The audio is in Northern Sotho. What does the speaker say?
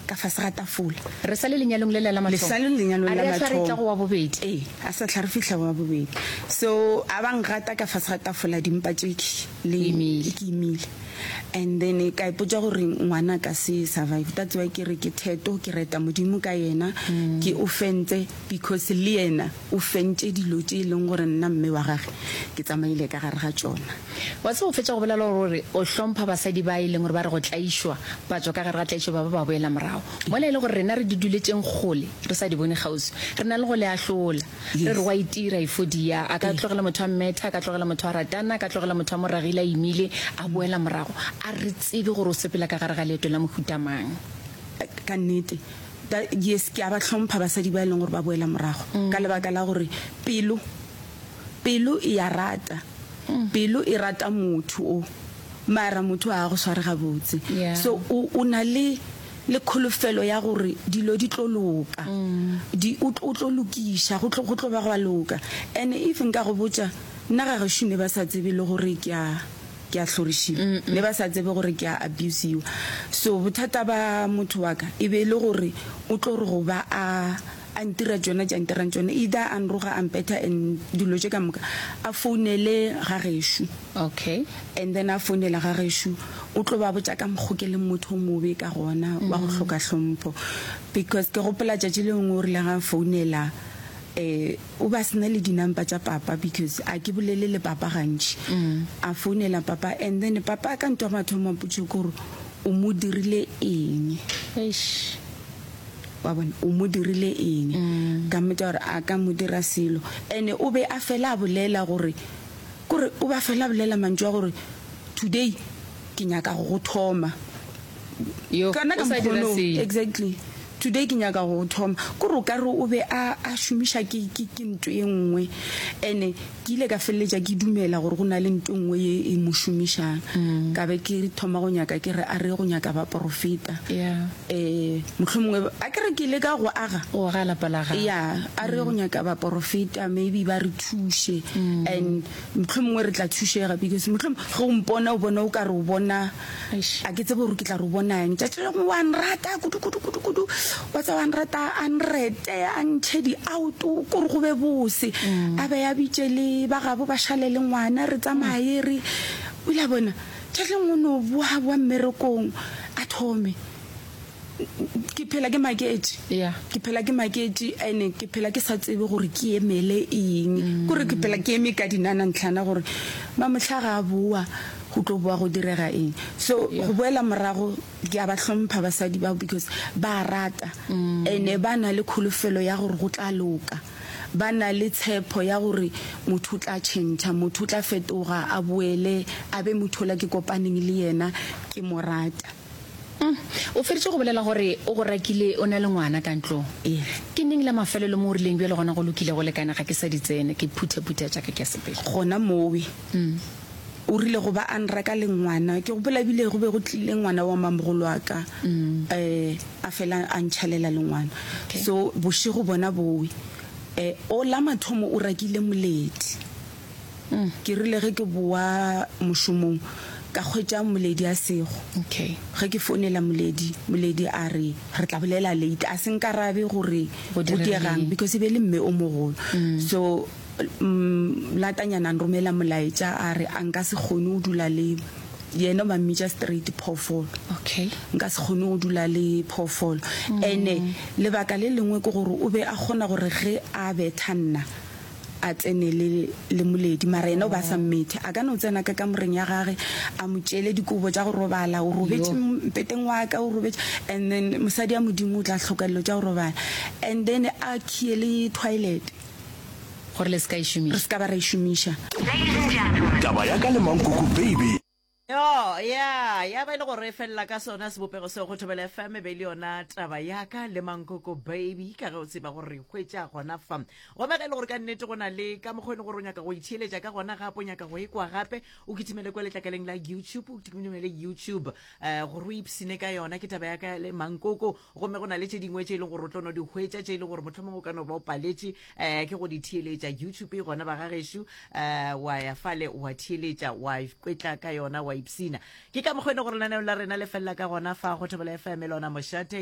ka fase ga tafola. Re sa le lenyalong lela la Le mathomo. sa le lenyalong A la re a hlwa re etla mathomo. go wa bobedi. Ee, a sa hlwa re fihla go wa bobedi. So a ba ngata ka fase ga tafola dimpa tše ke le O imile. ke imile. And then ka ipotša gore ngwana a ka se survive. That's why ke re ke theto, ke reta Modimo ka yena, ke o fentse because le yena o fentše dilo tše e leng gore nna mme wa gage ke tsamaile ka gare ga tšona. Wa tseba o fetša go bolela gore o hlompha basadi ba e leng gore ba re go tlaišwa, ba tšwa ka gare ga tlaišo ba ba ba boela morago. Mola e le gore rena re di duletšeng kgole, re sa di bone kgauswi, re na le go le ahlola. Re re wa itira, Efodia a ka tlogela motho a mmetha, a ka tlogela motho a ratana, a ka tlogela motho a mo ragile a imile, a boela morago. A re tsebe gore o sepela ka gare ga leeto la mohuta mang. Ka nnete. Yes, ke a ba hlompha basadi ba e leng gore ba boela morago, ka lebaka la gore pelo, pelo e a rata. Pelo e rata motho o, mara motho a go sware gabotse. Yeah. So o, o na le, le kholofelo ya gore dilo di tlo loka. Di, o, o tlo lokiša, go tlo, go tlo ba gwa loka. And if nka go botša, nna ga gešo ne ba sa tsebe le gore ke a, ke a hlorišiwa. Ne ba sa tsebe gore ke a abusiwa. So bothata ba motho wa ka e be e le gore o tlo re go ba a, a ntira tšona tše a ntirang tšona, either a nroga a mpetha and dilo tše ka moka, a founele ga gešo. Okay. And then a founela ga gešo, o tlo ba botša ka mokgo ke leng motho o mobe ka gona, wa go hloka hlompho. Because ke gopola tšatši le lengwe o rile ga a founela, um o be a se na le di-number tša papa because a ke bolele le papa gantši. A founela papa and then papa ka ntho ya mathomo a mpotša ke gore o mo dirile eng. Eish. Wa bona, o mo dirile eng? Ka mmotša gore a ka mo dira selo. And o be a fela a bolela gore, kore o be a fela a bolela mantšu a gore, Today ke nyaka go go thoma. Yo, Kana ka o sa dira mokgono, selo. exactly. Today ke nyaka go go thoma. Kore o ka re o be a, a šomiša ke, ke, ke nto e nngwe. And ke ile ka feleletša ke dumela gore go na le nto e nngwe ye e mo šomišang. Ka be ke thoma go nyaka, ke re a re ye go nyaka baporofeta. Yeah. Ee, mohlomongwe, a ke re ke leka go aga. Go aga lapa la gago. Ya, a re go nyaka baporofeta, maybe ba re thuše. And mohlomongwe re tla thušega because mohlomongwe ge o mpona o bona o ka re o bona, a ke tsebe gore ke tla re o bona eng. Tšatši le lengwe wa nrata kudu kudu kudu kudu, wa tseba wa nrata, a nrete, a ntšhe di-out, kore go be bose. A be a bitše le ba gabo ba šale le ngwana, re tsamaye re, o ile a bona. Tšatši le lengwe o no boa boa mmerekong a thome. Ke phela ke maketše. Yeah. Ke phela ke maketše and ke phela ke sa tsebe gore ke emele eng. Kore ke phela ke eme ka dinana ntlhana gore mamohla ga a boa go tlo boa go direga eng. So go boela morago ke a ba hlompha basadi bao because ba a rata and ba na le kholofelo ya gore go tla loka. Ba na le tshepo ya gore motho o tla tšhentšha, motho o tla fetoga a boele a be motho ola ke kopaneng le yena ke mo rata. Umm, o feditše go bolela gore o go rakile o na le ngwana ka ntlong. Ee. Ke neng la mafelelo mo o rileng bjale gona go lokile go lekane ga ke sa di tsene, ke phuthaphutha tša ka ke a sepela? Gona mowe. O rile go ba a nraka le ngwana, ke gopola ebile go be go tlile ngwana wa mamogolo wa ka, um a fela a ntšhalela le ngwana. So bošego bona bowe, um o la mathomo o rakile moledi. Ke rile ge ke boa mošomong ka hwetša Moledi a sego. Okay. Ge ke founela Moledi, Moledi a re re tla bolela late. A se nkarabe gore Go go diregile diegang eng. because e be e le mme o mogolo. So latanyana a nromela molaetša a re a nka se kgone go dula le yena, ba mmitša straight phoofolo. Okay. Nka se kgone go dula le phoofolo. Ene lebaka le lengwe ke gore o be a kgona gore ge a betha nna a tsene le, le moledi, mara yena o be a sa mmethe. A ka no tsena ka kamoreng ya gage, a mo tšeele dikobo tša go robala, o robetše mpeteng wa ka, o robetše, and then mosadi ya Modimo o tla hloka dilo tša go robala, and then a khiye le toilet. Gore le se ka e Re šomiša. se ka ba ra e šomiša. Taba ya ka le Mankoko baby. Yo, ya, ya ba e le gore e felela ka sona sebopego seo go Thobela FM e be e le yona taba ya ka le Mankoko Baby ka ge o tseba gore re hwetša gona fa. Gomme ge e le gore ka nnete go na le ka mokgwa e le gore o nyaka go itheeletša ka gona gape o nyaka go e kwa gape o kitimele kwa letlakaleng la YouTube o kitimele YouTube eh, gore o ipsine ka yona ke taba ya ka le Mankoko gomme go na le tše dingwe tše e leng gore o tlo no di hwetša tše e leng gore mohlomongwe o ka no ba o paletše um ke go di theeletša youtube e gona ba gagešo um wa ya fale wa theeletša wa kwetla ka yona wa ipsina ke ka mokgwa e le gore lenaneo la rena le felela ka gona fa go thobela fm lona mošate.